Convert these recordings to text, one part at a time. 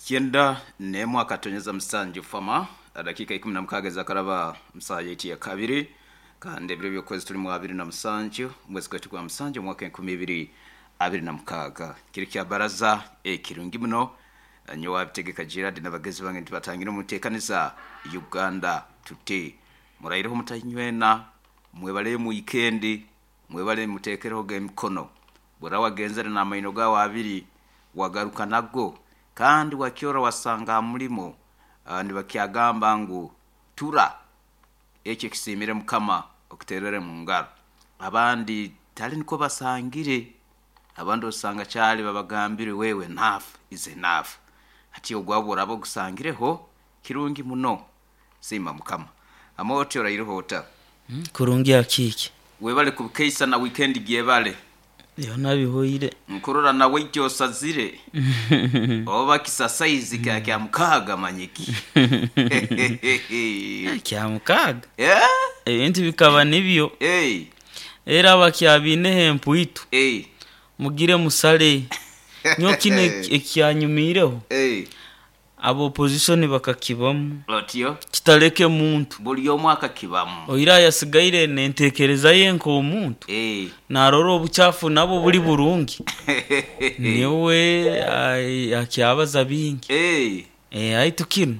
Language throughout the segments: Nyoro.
Kyenda n'emwe akatonyeza musanju fama dakika 16 ezakaraba musaha yaitu ya kabiri, kandi ebiro by'okwezi tulimu 27 omwezi gwaitu gwa musanju omwaka 2026. Kiri kya baraza ekirungi muno. Nyowe abitegeka Gerard n'abagezi bange nitubatangira omu nteekaniza Uganda Today. Muraireho mutainywena, mwebaleyo mu wiikendi, mwebale muteekereho emikono. Bwora wagenzere n'amaino gawe abiri, wagaruka nago, kandi wakyora wasanga ha mulimo nibakyagamba ngu tura, ekyo ekisiimire Mukama okiterere mu ngaro. Abandi tali nikwo basangire, abandi osanga kyali babagambire wewe enough is enough. Hati ogwawe bworaba ogusangireho, kirungi muno, siima Mukama. Amooti oraireho ota? Kurungi akiiki. Webale kubukeisa na wiikendi gyebale. Byona bihoire. Nkurora nawe iti osazire oba kisa saizi kya kya mukaaga manyiki. Kya mukaaga? Ebintu bikaba nibyo. Era abakyabaineho empwitu mugire musale. Nyowe kinu ekyanyumiireho, aba opposition bakakibamu. Otyo. Kitaleke muntu. Buli omu akakibamu. Oira ayasigaire n'entekereza ye nk'omuntu, narora obukyafu nabwo buli burungi, niwe akyabaza bingi. Haitu kinu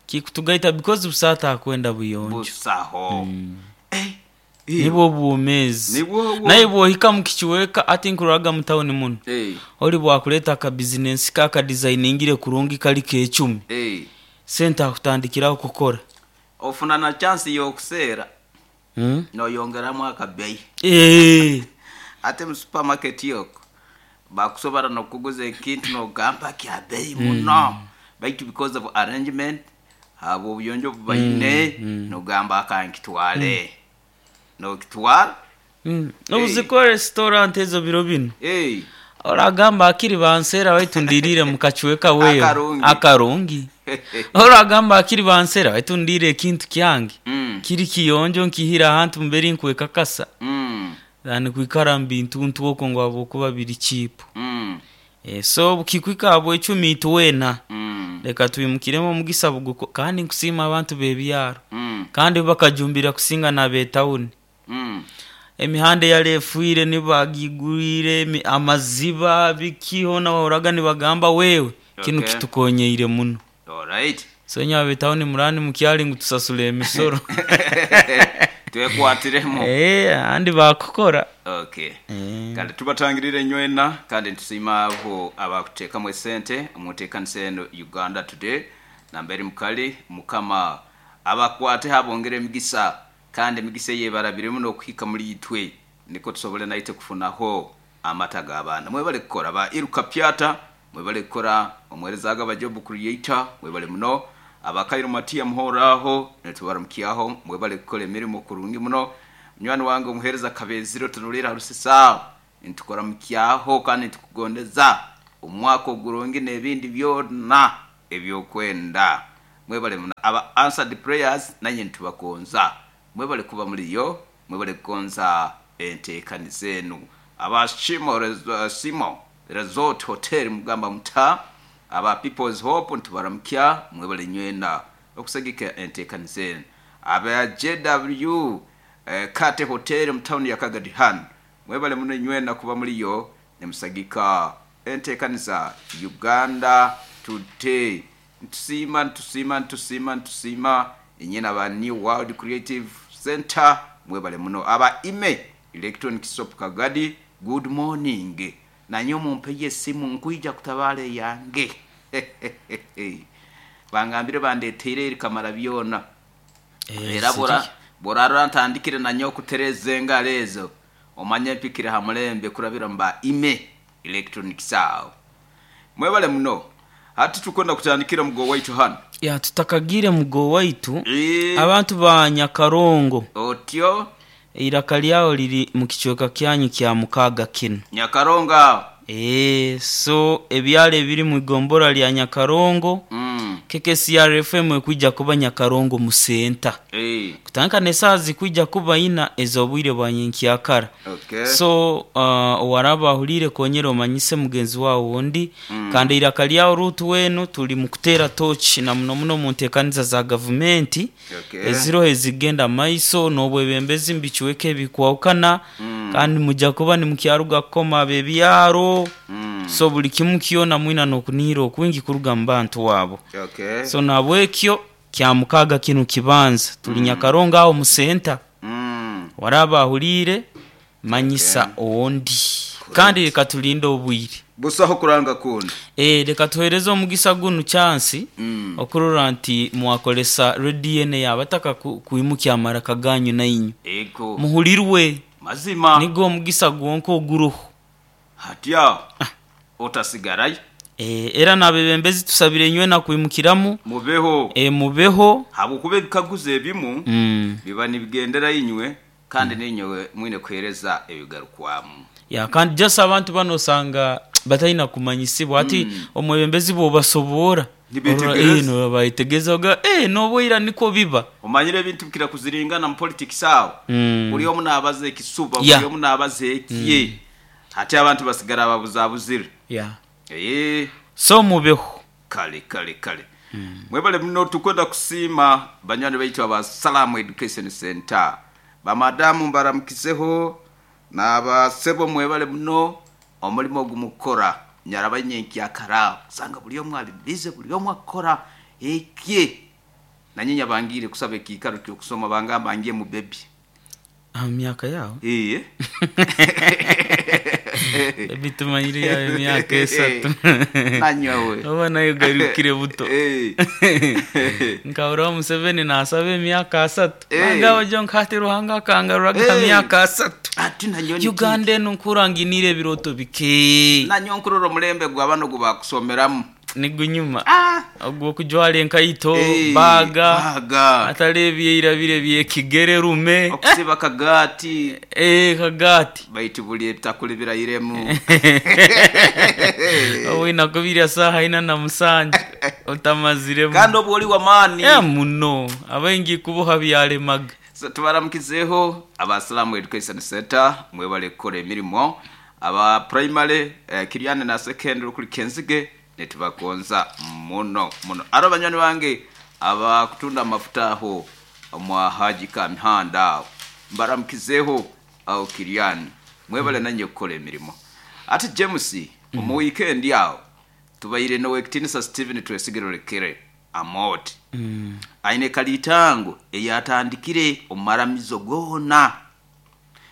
kikutugaita because busaho atakwenda buyonjo. Busaho. Nibwo bwomeezi. Naye bwohika mu kicweka hati nkuroraga mu tawuni muno, ori bwakuleeta akabizinensi ke akadizainingire kurungi kali k'ecumi, sente akutandikiraho kukora. Ofuna na chansi y'okuseera noyongeramu akabeeyi. Ate mu supamaketi okwo bakusobora n'okukuguza ekintu nogamba kya beeyi muno, baitu because of arrangement habw'obuyonjo obu baine nogamba kankitwale, nokitwara. Nobuzikora restaurant ezo biro binu, oragamba hakiri banseera baitu ndiriire mu kacweka weewe akarungi. Oragamba hakiri banseera baitu ndiire ekintu kyange kiri kiyonjo nkihire ahantu mbere nkwekakasa than kwikara mu bintuntu okwo ngu habwokuba biri cheap. So obukikwika aha bwecumi itwena leka twimukiremu omugisa buguko kandi nkusiima abantu b'ebyaro kandi bo bakajumbirira kusinga n'ab'etawuni. Emihanda eyali efwire nibo baagigwire, amaziba biki hoona wahurraga nibagamba wewe kinu kitukonyeire muno. So inywe ab'etawuni muraba nimukyali ngu tusasule emisoro. Twekwatiremu. Ahandi baakukora. Okay. Kale tubatangirire inywena kandi nitusiima abo abakuteekamu esente omu nteekanisa eno Uganda Today. Namberi mukali, Mukama abakwateho abongere emigisa kandi emigisa ei ebarabiremu n'okuhika muli itwe nikwo tusobole naitwe kufunaho amata g'abaana. Mwebale kukora ba Iruka Pyata, mwebale kukora omuheereza Agaba Job Creator, mwebale muno. Aba Kairo Matia Muhoraaho nitubaramukyaho, mwebale kukora emirimo kurungi muno. Munywani wange omuheereza Kabezire otunuliire ha Rusisaaho, nitukuramukyaho kandi nitukugondeza omwaka ogurungi n'ebindi byona eby'okwenda. Mwebale muno. Aba Answered Prayers nanye nitubagonza. Mwebale kuba muliyo, mwebale kugonza enteekaniza enu. Aba Shimo Simo Resort Hotel mugamba muta? Aba People's Hope nitubaramukya, mwebale nywena okusagika enteekaniza enu. Aba JW Kate Hotel omu tawuni ya Kagadi Han, mwebale muno inywena kuba muliyo nimusagika enteekaniza Uganda Today. Nitusiima, nitusiima, nitusiima, nitusiima inyena aba New World Creative Centre mwebale muno. Aba Ime Electronic Shop Kagadi, good morning. Nanye mumpeyo esimu nkwija kutabaara eyange. Bangambire bandeteire eri kamara byona. Era bworarora ntandikire nanye okutereza engaro ezo, omanye mpikire ha mulembe kurabira mu ba Ime Electronics aho. Mwebale muno. Hati tukwenda kutandikira mugo waitu hanu. Ya tutakagiire mugo waitu, abantu ba Nyakarongo. Otyo. Eiraka lyagho liri mu kicweka kyanyu kya mukaaga kinu. Nyakarongo agho. Eeh, so ebyalo ebiri mu igombolola lya Nyakarongo, KKCR FM ekwija kuba Nyakarongo mu senta. Kutandika n'esaaha zikwija kuba ina ez'obwire bwa nyenkyakara. So owaraba ahuliire konyera omanyise mugenzi wawe ondi. Kandi eiraka lyawe Ruth wenu tuli mu kuteera tochi na muno muno mu nteekaniza za gavumenti eziroho ezigenda maiso n'obwebembezi mu bicweka ebikwahukana. Kandi mujja kuba nimukyaruga kukoma ab'ebyaro. So buli kimu kyona mwina n'okunihira okwingi kuruga mu bantu abo. So nahabwekyo Kyamukaaga kinu kibanza tuli Nyakarongo aho mu senta. Waraaba ahuliire manyisa ondi. Kandi leka tulinde obwire. Busaho kuranga kundi. Leka tuhereze omugisa gunu chance okurora nti mwakoresa rediyo enu ey'abataka kwimukya amaraka ganyu nainywe. Ego. Muhulirwe. Mazima. Nigwo omugisa gwonka oguroho. Hati aho otasigarayo. Era n'abebembezi tusabire inywena kwimukiramu. Mubeho. Mubeho. Habwokuba ebikaguzo ebimu biba nibigendera inywe kandi nainywe mwine kuheereza ebigarukwamu. Ya kandi just abantu banu osanga bataina kumanyisibwa hati omwebembezi bw'obasoboora Nibetegereza. Nibayetegereza baga n'obwaira nikwo biba. Omanyire ebintu bikira kuziringana mu politics aho. Buli omu naabaza ekisuba, buli omu naabaza ekye. Hati abantu basigara babuzabuzire. So mubeho. Kale kale kale. Mwebale muno tukwenda kusiima banywani baitu aba Salaam Education Center. Bamadamu mbaramukizeho n'abasebo mwebale muno omulimo ogumukukora. Nyaraba nyenkyakara aho osanga buli omu ali busy, buli omu akukora ekye. Nanye nyabangiire kusaba ekiikaro ky'okusoma bangamba ngye mu baby. Aha myaka yaawe? Baby tumanyire yaawe emyaka esatu. Nanyowe. Oba nayo ogarukire buto. Nkahurira Museveni naasaba emyaka asatu. Nangamba nyowe hati Ruhanga akangaruraga aha myaka asatu. Ati nanyowe ni Uganda enu nkuhurra nginiire ebirooto bike. Nanyowe nkurora omulembe gwa banu ogu bakusomeramu. Nigunyuma. Ogw'okujwara enkaito, baaga, Baaga. hatari ebyaira biri eby'ekigere rume. Okusiba akagaati. Kagaati. Baitu buli ebitakuli birairemu. Obu nakubirya saaha ina na musanju otamaziremu. Kandi obu oli w'amaani. Muno. Abaingi kuboha byaremaga. So, tubaramukizeho aba Salaam Education Center mwebale kukora emirimo. Aba primary Kiriani na secondary kuri Kenzige nitubagonza muno muno. Aro banywani bange abakutunda amafuta aho mwa Haji Kamihanda aho mbaramukizeho aho Kiriani mwebale nanye kukora emirimo. Ati James omu weekend aho tubaire n'owekitinisa Stephen Twesigire Olekere Amooti. Aine kalitango eyatandikire omu maramizo goona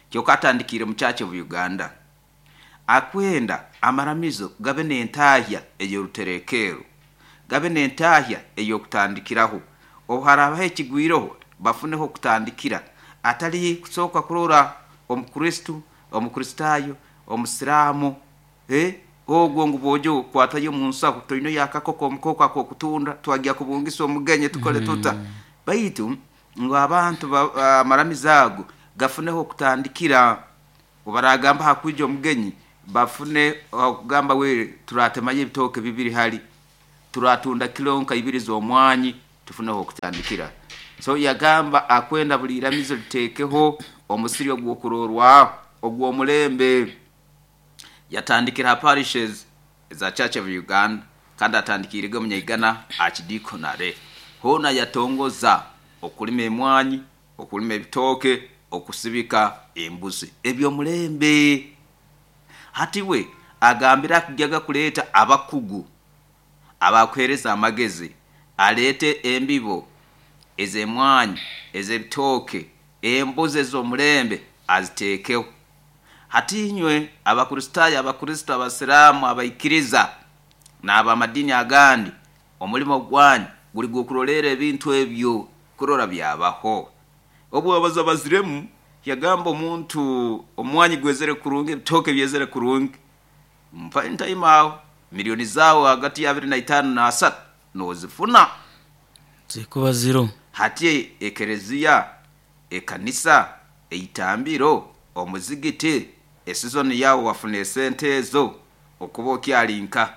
kyonka atandikiire mu Church of Uganda. Akwenda amaramizo gabe n'entahya ey'oruterekeero, gabe n'entahya ey'okutandikiraho. Obu haraabaho ekigwireho bafuneho okutandikira, atari kusooka kurora Omukristo, Omukristaayo, Omusiraamu, ogwo ngu bwojo kwatayo omu nsaho toineyo akakoko omukooko ak'okutunda twagya kubungisa omugenyi tukole tuta. Baitu ngu abantu amaramizo ago gafuneho okutandikira. Obu baragamba hakwija omugenyi bafune okugamba we turatemayo ebitooke bibiri hali, turatunda kilo nka ibiri z'omwanyi tufuneho okutandikira. So yagamba akwenda buli iramizo liteekeho omusiri ogw'okurorwaho ogw'omulembe. Yatandikira ha parishes eza Church of Uganda kandi atandikiirege omunyaigana Archdeaconry. Hoona yatongoza okulima emwanyi, okulima ebitooke, okusibika embuzi eby'omulembe. Hati we agambire akugyaga kuleeta abakugu abakuheereza amagezi, aleete embibo ez'emwanyi, ez'ebitooke, embuzi ez'omulembe aziteekeho. Hati inywe Abakristaayo, Abakristo, Abasiraamu, abaikiriza n'ab'amadiini agandi, omulimo gwanyu guri gw'okuroleera ebintu ebyo kurora byabaho. Obu abaza baziremu yagamba omuntu omwanyi gwezere kurungi, ebitooke byezere kurungi, mpa entaima aho milioni zaawe hagati ya abiri na itaano na asatu noozifuna. Zikuba ziro. Hati ekereziya, ekanisa, eitambiro, omuzigiti, esizoni yaawe wafuna esente ezo okuba okyali nka.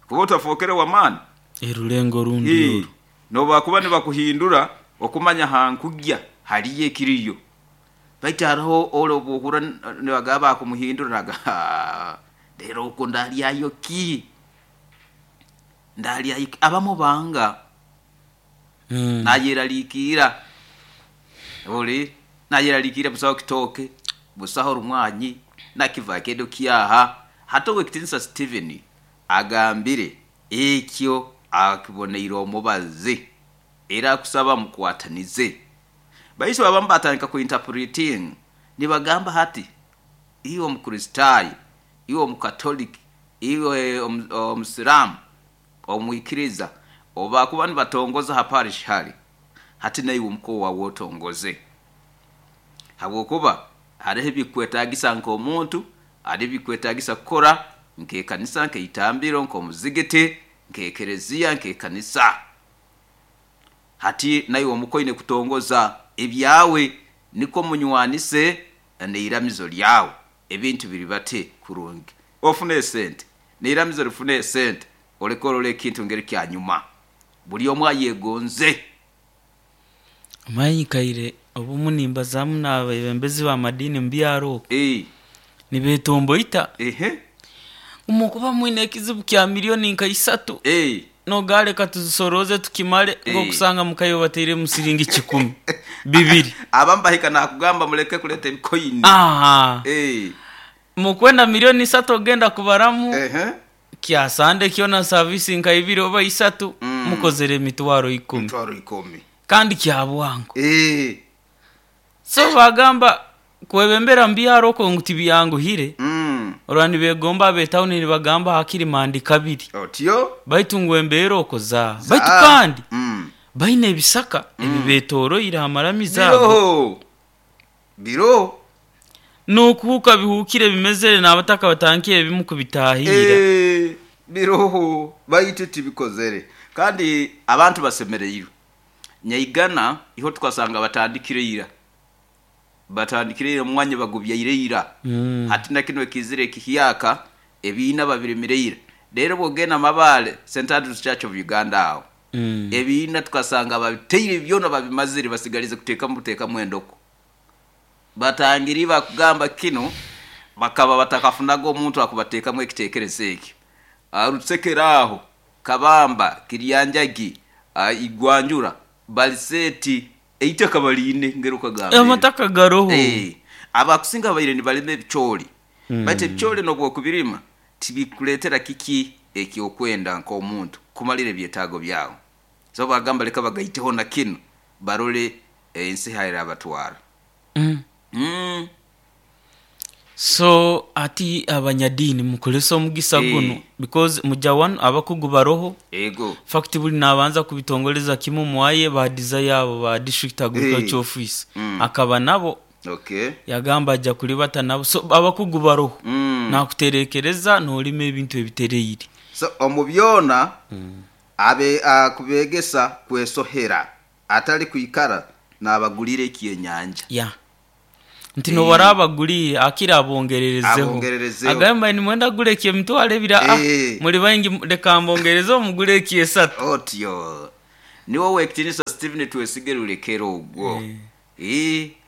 Kuba otafookere w'amaani. Erulengo rundi oru. Nobakuba nibakuhindura okumanya hankugya haliyo ekiriyo. Baitu hariho ole obwohurra nibagamba bakumuhindura naga rero okwo ndalyayo ki? Ndalyayo ki? Abamu banga. Nayeraliikirra. Oli nayeraliikirra busaho kitooke, busaho rumwanyi, nakivakedo kyaha. Hati Owekitinisa Stephen agambire ekyo akiboneire omubazi era akusaba mukwatanize. Baitu abamu batandika ku interpreting nibagamba hati iwe Omukristaayo, iwe Omukatoliki, iwe Omusiraamu, omwikiriza, obu bakuba nibatongoza ha parish hali, hati naiwe omuka waawe otongoze. Habwokuba hariho ebikukwetaagisa nk'omuntu, hariho ebikukwetaagisa kukora nk'ekanisa, nk'eitambiro, nk'omuzigiti, nk'ekereziya, nk'ekanisa. Hati naiwe omuka oine kutongoza ebyawe nikwo munywanise n'eiramizo lyawe ebintu biribate kurungi. Ofune esente, n'eiramizo rifune esente, oleke orole ekintu ngeri kyanyuma. Buli omu ayegonze. Omanyi nyikaire obumu nimbazaamu n'abeebembezi b'amadiini omu byaro okwo, nibeetomboita ngu mukuba mwine ekizibu kya milioni nka isatu, noga leka tuzisorooze tukimale, ng'okusanga muka iwe batairemu siringi kikumi, bibiri. Abamu bahika naakugamba muleke kuleeta ebikoini. Mukwenda milioni isatu ogenda kubaramu kya Sande kyona saavisi nka ibiri oba isatu, mukozere emitwaro ikumi. Emitwaro ikumi. Kandi kya bwangu. So baagamba kwebembera mu byaro okwo ngu tibyanguhire, orora nibeegomba ab'etawuni nibagamba hakiri mandi kabiri. Otyo. Baitu ngu embeera okwo za. Baitu kandi baine ebisaka ebibetoroire ha maramizo ago. Biroho. Biroho. N'okuhuuka bihuukire bimezere n'abataka batandikire ebimu kubitaahiira. Biroho baitu tibikozere. Kandi abantu basemereirwe. Nyaigana iho tukasanga batandikire ira. Batandikire ira omwanya bagubyaire ira. Hati na kinu ekiizire ekihyaka, ebiina babirimire ira. Reero bw'ogenda Mabaale, St Andrews Church of Uganda aho, ebiina tukasanga babitaire byona babimazire basigaliize kuteekamu buteekamu endoko. Batangire bakugamba kinu bakaba batakafunaga omuntu akubateekamu ekiteekerezo ekyo. Rutsekere aho, Kabamba, Kiryanjagi, Igwanjura, Baliseeti, eitaka baliine ngeri okagamba eryo. Amataka garoho. Abakusinga babaire nibalima ebicoori. Baitu ebicoori n'obu okubirima tibikuleetera kiki eky'okwenda nk'omuntu kumalira ebyetaago byawe. So bagamba leka bagaiteho na kinu barole ensi h'erabatwara. So hati abanyadiini mukorese omugisa gunu because muja wanu abakugu baroho. Ego. Fact buli nabanza kubitongoreza kimu mwaye ba Desire abo ba district agriculture office akaba nabo. Okay. Yagamba aja kulibata nabo. So abakugu baroho. Nakuterekereza nolima ebintu ebitereire. So omu byona abe akubegesa kwesohera atali kwikara nabagulira ekyenyanja. Yeah. Nti n'obu araabaguliire, akira abongererezeho. Abongererezeho. Agambe mbaire nimwenda kugura eky'emitwaro ebiri, aa, muri baingi leka mbongerezeho mugure eky'esatu. Otyo. Niwe Owekitinisa Stephen Twesige Rulekero ogwo.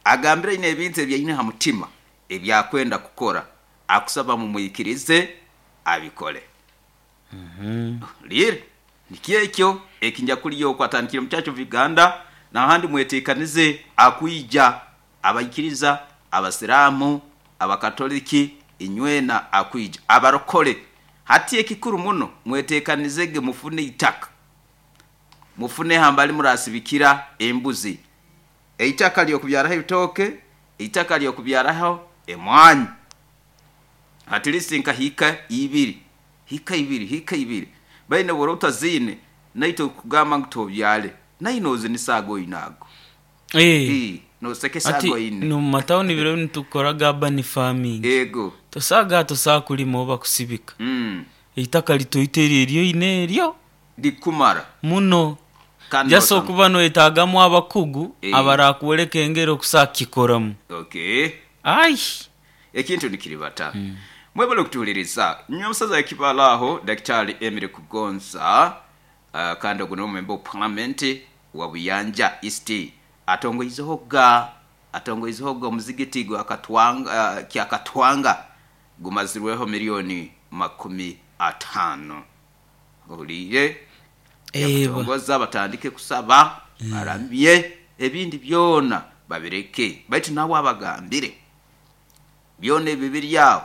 Agambire aine ebintu ebi aine ha mutima ebi akwenda kukora, akusaba mumwikirize abikole. Riire, nikyo ekyo ekinyakuliyo okwo atandikire omu Church of Uganda nahandi mwetekanize akwija abaikiriza, abasiraamu, abakatoliki inywena akwija abarokore. Hati ekikuru muno mwetekanizege mufune eitaka, mufune hambali murasibikira embuzi, eitaka ly'okubyaraho ebitooke, eitaka ly'okubyaraho emwaanyi. At least nka hiika ibiri, hiika ibiri, hiika ibiri. Baine bw'oraba otaziine, naitwe kugamba ngu tobyare, naine ozinisa ago oine ago. Eeh. Nosekesa Hati ago oine. n'omu matawuni biro binu tukukoraga urban farming. Ego. Tosaga tosobola kulima oba kusibika. Eitaka litoito eryo eryoine eryo. Likumara. Muno. Kandi Just nosanga. okuba noyetagamu abakugu abarakwoleka engeri okusobola kukikoramu. Okay. Ai! Ekintu nikiribata. Mwebale okutuhuliriza. Nyowe omusaza w'ekibaala aho, Dakitaali Emily Kugonza. Kandi ogu niwe member of parliament wa Buyanja East, atongoizehoga omuzigiti gwa Katwanga, Kyakatwanga gumazirweho 50,000,000. Ohuliire? Yakutongoza batandike kusaba, baramye, ebindi byona babireke. Baitu nawe abagambire byona ebi biri aho,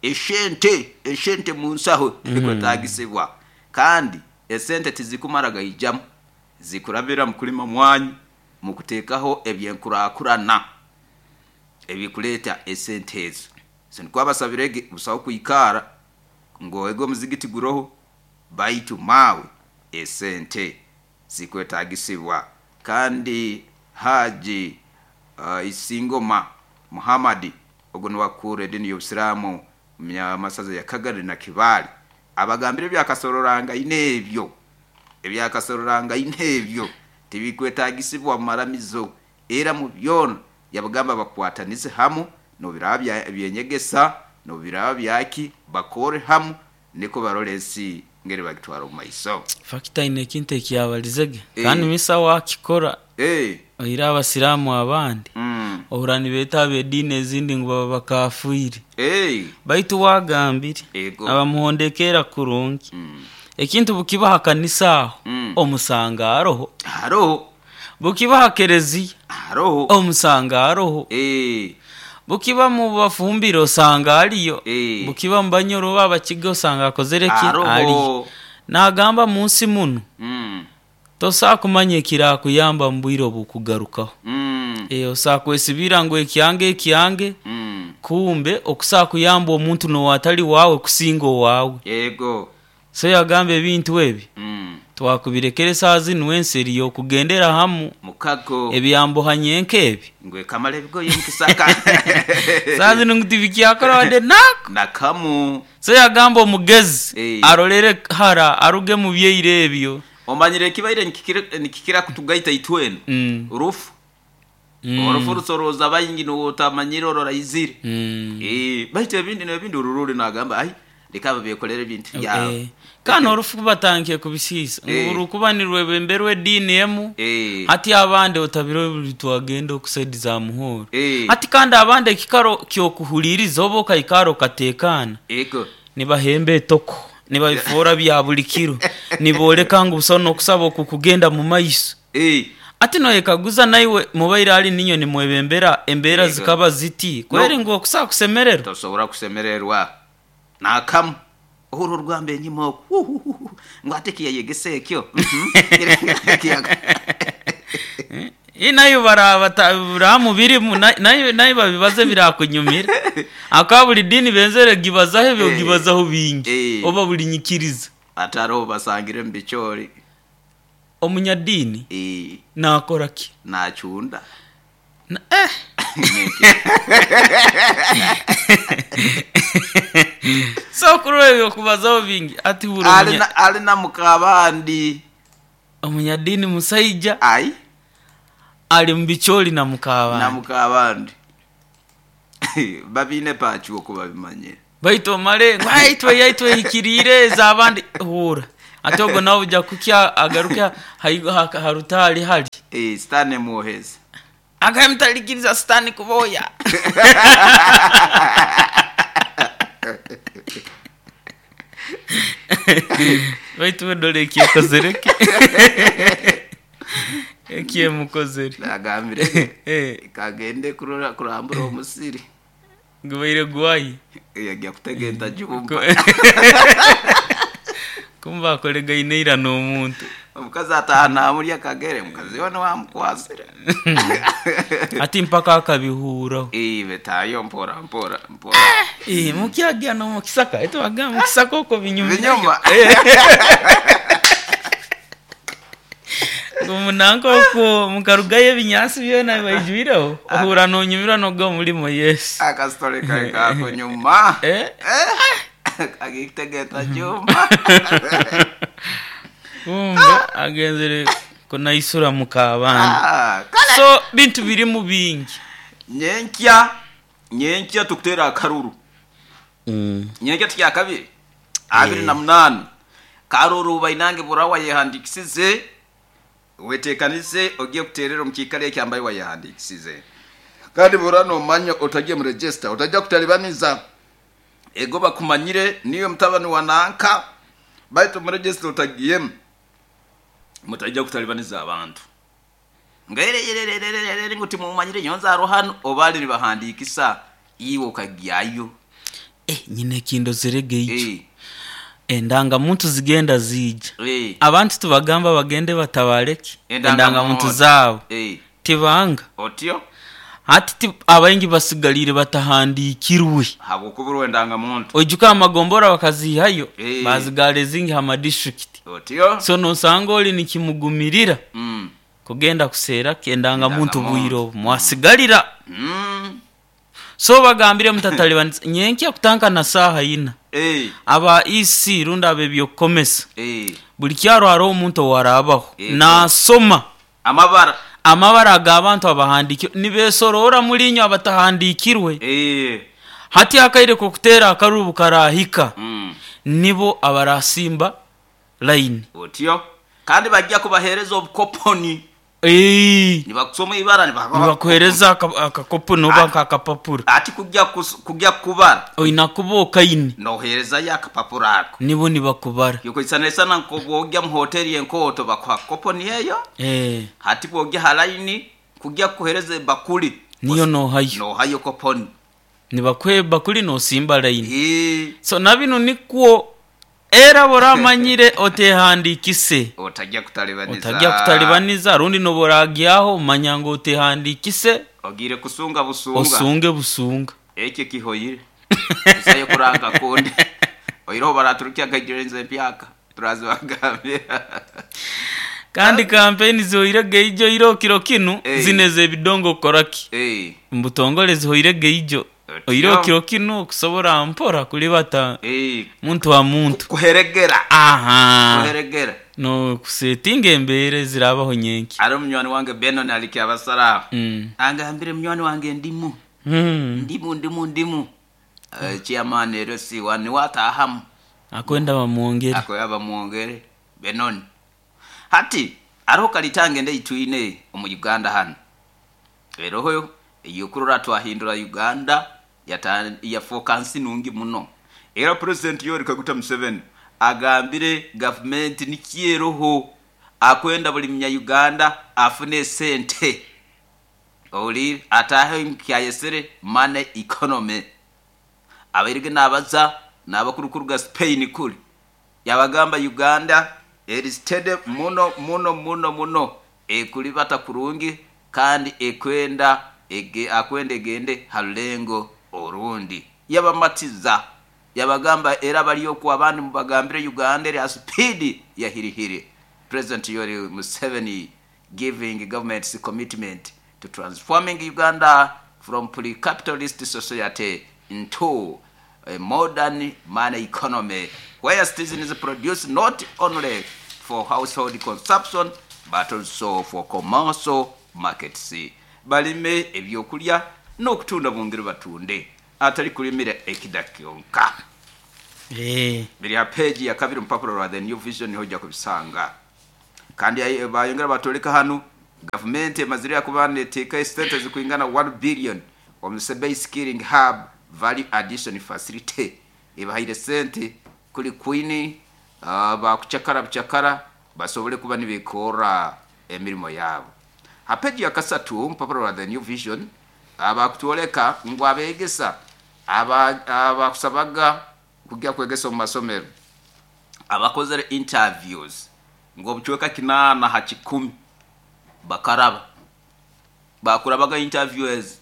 eshente munsaho ekwetagisibwa, kandi esente tizikumara gaijamu, zikurabira mu kulima mwanyi, mu kuteekaho ebyenkurakurana ebikuleta esente ezo. So nikwo abasabirege busaho kwikara ngu ego omuzigiti guroho, baitu mawe esente zikwetagisibwa. Kandi Haji Isingoma Muhammad ogu niwakura edini y'Obusiraamu masaza ya Kagari na Kibaale, abagambire ebyakasororanga ebyo, ebyakasororanga ebyo tibikwetagisibwa mu maramizo, era mu byona yabagamba bakwatanize hamu, nobiraba byenyegesa, nobiraba byaki, bakore hamu niko barole ensi ngeri bagitwara omu maiso. Fakita ine ekintu ekiyabalizege kandi misa wakikora oira abasiraamu abandi ohura nibeeta ab'ediini ezindi ngu baba bakafiire. Baitu wagambire abamuhondekera kurungi, ekintu bukiba ha kanisa aho omusanga aroho, haroho, bukiba ha kereziya haroho, omusanga aroho, bukiba mu bafumbiro osanga aliyo, bukiba mu banyoro oba abakiga osanga akozere ki aliyo. Nagamba munsi muno tosobola kumanya ekirakuyamba mu bwire obukugarukaho. Osobola kwesibira ngu ekyange ekyange, kumbe okusobola kuyamba omuntu n'owatali waawe kusinga owaawe. Ego. So yagamba ebintu ebi twakubirekere saa zinu, ensi eriyo okugendera hamu mukago ebyambuhanye nk'ebi ngwe kamala ebigoye mukisaka saa zinu ngu tibikyakora wadde nako nakamu. So yagamba omugezi arolere hara aruge mu byeire ebyo. Omanyire ekibaire nikikira kutugaita itwena rufu. Orufu rusoroza baingi n'otamanyire ororaizire. Baitu ebindi n'ebindi orururi nagamba ai leka bekolere ebintu byabo. Kandi orufu batangiye kubisiisa urukuba nirwebemberwa ediini emu, hati abandi otabire buli twagenda okusaidi za Muhoro, hati kandi abandi ekikaro kyokuhuliriza oba okaikara okatekana, nibahemba etoko, nibabifora bya buli kiro, niboleka ngu busaho n'okusaba okukugenda mu maiso. Ati noyekaguza naiwe mubaire ali ninyo nimwebembera embeera zikaba ziti kweri ngu okusobola kusemererwa. Tosobora kusemererwa nakamu. Ohura orugamba enyima oku ngu ate kiyayegesa ekyo. Nayo baraburamu birimu nayo babibaze birakunyumira. Akaba buli dini benzere gibazaho ebyo gibazaho bingi oba buli nyikiriza. Atariho basangire mu bichori. Omunyadini nakora ki? Nachunda. So kurora ebyo kubazaho bingi ati ali na mukabandi. Omunyadini musaija ai ali mu bichori na mukabandi. Na mukabandi. Babine pachi okuba bimanye. Baitu omale ngu aitwe yaitwe hikirire ez'abandi hura. Ate ogwo nawe ojja kukya agaruka harutali hali. Sitani muoheza. Akamtalikiriza sitani kuboya. Baitu wedole ekyekozereke. Ekyemukozere. Nagambire. Kagende kurora kurambura omusiri. Gubaire gwayi. Yajya kutega entajumba. Kumba akolegaine ira n'omuntu. Omukazi ataha namurya kagere, omukazi we niwamukwasire. Ati mpaka akabihuraho. Betayo mpora mpora mpora. Mukyagya no mukisaka, eto agamba mukisaka oko binyuma. Binyuma. Omunanka oko mukarugayo ebinyansi byona baijwireho, ohura nonyumirwa noga omulimo Yesu. Akasitore kare kako nyuma. Agikutegeta jumba. Kumbe agenzere kunaisura mukabandi. So bintu birimu bingi. Nyenkya tukutera akaruru. Nyenkya tukya kabiri. 28. Karora bainange bora wayehandikisize, weteekanize ogiye kuteerera omu kiikaro eki ambaye wayehandikisize. Kandi bora nomanya otagiye mu register, otajja kutalibaniza. Ego bakumanyire niyo mutabani wa nanka, baitu mu register otagiyemu. Mutajja kutalibaniza abantu. Ngerererererere ngu timumanyire nyonza hano obali nibahandikisa iwe okagyayo. Nyine ekindozerege ikyo. Endangamuntu zigenda ziija. Abantu tubagamba bagende batabareki endangamuntu zaabo. Tibanga. Otyo? Hati abaingi basigalire batahandikirwe. Habw'okuburwa endangamuntu. Oijuka amagombora bakazihayo, bazigara ezingi ha district. Otyo? So nosanga ori nikimugumirira kugenda kuseera endangamuntu bwire obu mwasigalira. So bagambire mutatalibaniza nyenkya kutanka na saaha ina. Aba EC rundi ab'ebyokukomesa. Buli kyaro hariho omuntu owarabaho nasoma amabara amabara ag'abantu abahandikirwe nibesorora muri inywe abatahandikirwe. Hati akaire k'okuteera akarubu karahika, nibo abarasimba line. Otyo kandi bajja kubahereza obukoponi. Nibakusoma ibara nibakuhereza akakoponi oba akapapura. Ati kujya kubara oina kuba okaine noherezayo akapapura ako, nibo nibakubara. Yukuisanisana nkobwogya mu hoteli enkoto bakuha koponi eyo. Hati bwogya ha line kujya kuhereza bakuli niyo nohayo nohayo koponi, nibakuhe bakuli nosimba line. So nabino nikwo era boramanyire otehandikise otajya kutalibaniza, otajya kutalibaniza rundi noboragyaho manya ngo otehandikise ogire kusunga busunga, osunge busunga ekyo kihoyire isayo kuranga kundi oiroho baraturukia kagirenze empyaka turazibagambira. Kandi kampeni zihoirege ijo iro kiro kinu zineze ebidongo koraki mbutongole zihoirege ijo oiro kiro kinu kusobora mpora kulibata muntu wa muntu kuheregera. Kuheregera no kusetinga embere zirabaho nyenki. Ari munywani wange Benon aliki abasara. Angambire munywani wange ndimu. Ndimu. Chairman ero si wani watahamu. Akwenda bamuongere. Akoya bamuongere Benon. Hati ariho kalitange ndeyituine omu Uganda hano. Eroho eyokurora twahindura Uganda yafoka nsi nungi muno. Era President Yoweri Kaguta Museveni agambire government nikyeroho akwenda buli munya Uganda afune sente. Oli atahe kyayesere money economy. Abairige nabaza nabakurukuruga Spain kuli. Yabagamba Uganda eri steady muno muno muno muno ekulibata kurungi kandi ekwenda akwenda egende halulengo orundi. Yabamatiza yabagamba era baliyo ku abandi mubagambire Uganda eri speed ya hirihiri. President Yoweri Museveni giving government's commitment to transforming Uganda from pre-capitalist society into a modern money economy where citizens produce not only for household consumption but also for commercial markets. Balime ebyokulya n'okutunda bongere batunde atali kulimira ekida kyonka. Biri ha page ya kabiri mpapuro rwa The New Vision hoja kubisanga. Kandi bayongera batoleka hano government emazire yakubane eteka sente zikuingana 1 billion omusebe skilling hub value addition facility ebahaire sente kuli Queen bakuchakara buchakara basobole kuba nibikora emirimo yabo. Ha page ya kasatu mpapuro rwa The New Vision abakutoleka ngo abegesa abakusabaga kujya kwegesa mu masomero abakozere interviews ngo buchweka 8 ha 10 bakaraba bakurabaga interviewers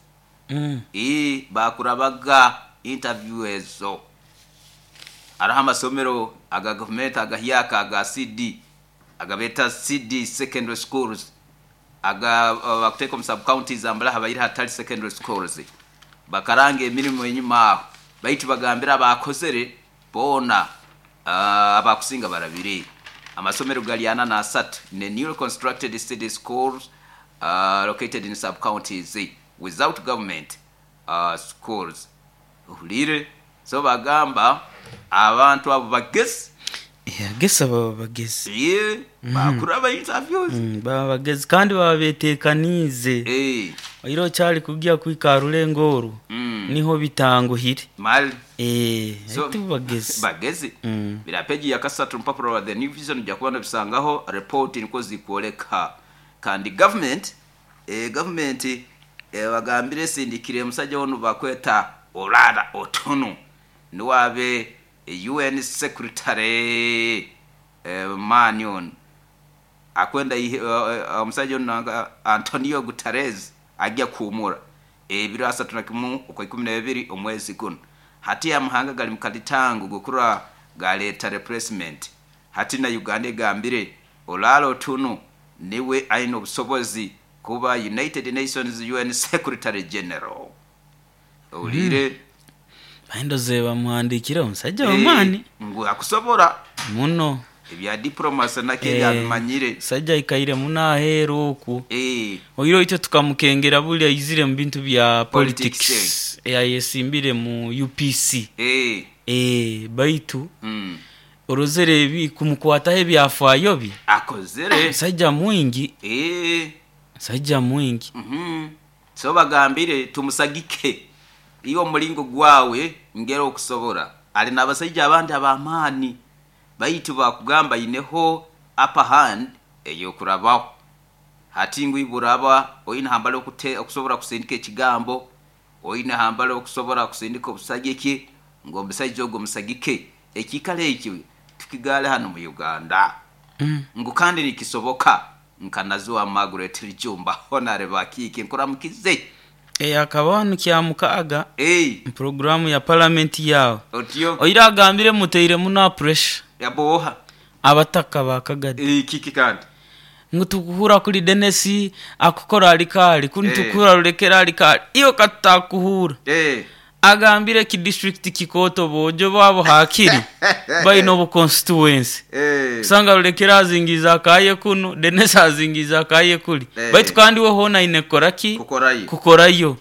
bakurabaga interviewers so araha amasomero aga government agahyaka aga CD agabeta CD secondary schools aga bakuteka mu sub counties ambala habayira hatali secondary schools bakaranga emirimo enyuma aho baitu bagambira abakozere bona abakusinga barabiri. Amasomero galiana na asatu ne newly constructed city schools located in sub counties without government schools. Ulire so bagamba abantu abo bagesi Agesa baba bagezi. Ye bakura interviews. Baba bagezi kandi baba betekaniize. Oiro kyali kugya kwika rulengo oru niho bitanguhire. Mali. So, bagezi. Bagezi. Bila peji ya kasatu mpapuro wa The New Vision jakuba bisangaho report niko zikwoleka. Kandi government bagambire sindikire musajja ono bakweta Olara Otunnu niwabe UN secretary Manion akwenda omusajja ono Antonio Guterres ajja kuumura ebiro asatu na kimu okwa 12 omwezi guno. Hati amahanga gali mukalitango gukura galeta replacement. Hati na Uganda egambire Olara Otunnu niwe aine obusobozi kuba United Nations UN Secretary General. Olire baindoze bamuhandikire omusajja w'amaani ngu akusobora muno ebya diplomasi nake yabimanyire. Sajja ikaire muno aheeru oku. Oiro itwe tukamukengera buli aizire mu bintu bya politics yayesimbire mu UPC. Baitu orozere ebi kumukwataho ebyafaayo bi akozere sajja mwingi. Sajja mwingi. So bagambire tumusagike iyo mulingo gwawe ngero okusobora. Ali n'abasajja abandi ab'amaani baitu bakugamba ineho upper hand ey'okurabaho. Hati ngu iburaba oine hambale okusobora kusindika ekigambo, oine hambale okusobora kusindika obusagiki ngu omusajja ogwo musagike. Ekikalo ekyo tukigale hano mu Uganda. Ngu kandi nikisoboka nkanazuwa Margaret Rijumba honare bakiki nkuramukize. Akaba kyamukaga programu ya parliament yawe. Oira agambire muteire muno pressure. Yaboha abataka bakagadi. Kiki kandi ngu tukuhura kuli Dennis akukora alikali kuni tukura rulekera alikali iyo katakuhura. Agambire ki district kikoto bojo babo hakiri bayino bu constituency. Sanga rulekera azingiza akaye kuno Dennis azingiza akaye kuli. Baitu kandi we hona inekoraki kukorayo.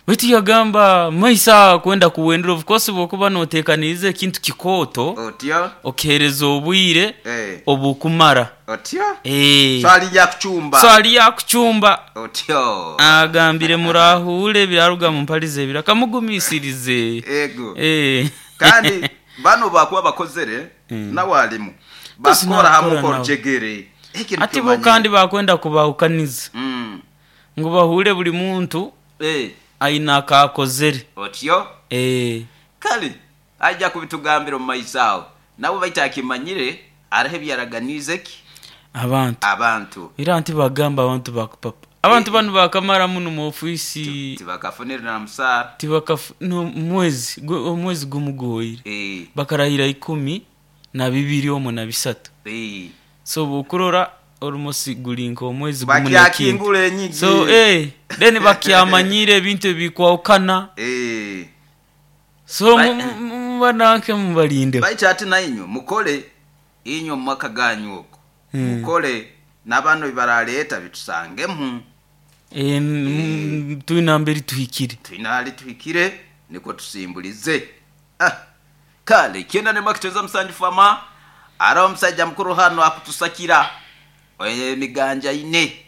Baitu yagamba maisa kwenda kuwendera of course bokuba notekanize ekintu kikoto okereza obwire obukumara. Otyo. Swali ya kuchumba. Swali ya kuchumba. Otyo. Agambire murahule biraruga mu mpalize birakamugumisirize. Ego. Kandi bano bakuba bakozere na walimu bakora hamwe korjegere. Ati bo kandi bakwenda kubahukaniza. Ngo bahule buli muntu aina akakozere. Otyo. Kali ajja kubitugambira mu maisao. Nabo baitakimanyire arahe byaraganize ki abantu. Era nti bagamba abantu bakupapa. Abantu bano bakamara muno mu ofisi tibakafunira na musara. No mwezi gumugoyire. Bakarahira 12 omwe na 3. So bukurora almost gulinko omwezi gumunakingule nyingi. So then bakyamanyire ebintu ebikwawukana. So bananke mubalinde. Baita ati na inyo mukole inyo mwaka ganyu oko. Mukole nabano bibaraleta bitusangemu. Tuina mberi tuhikire. Tuina tuhikire niko tusimbulize. Kale kienda ne makiteza musanju fama ara omusajja mukuru hano akutusakira miganja ine.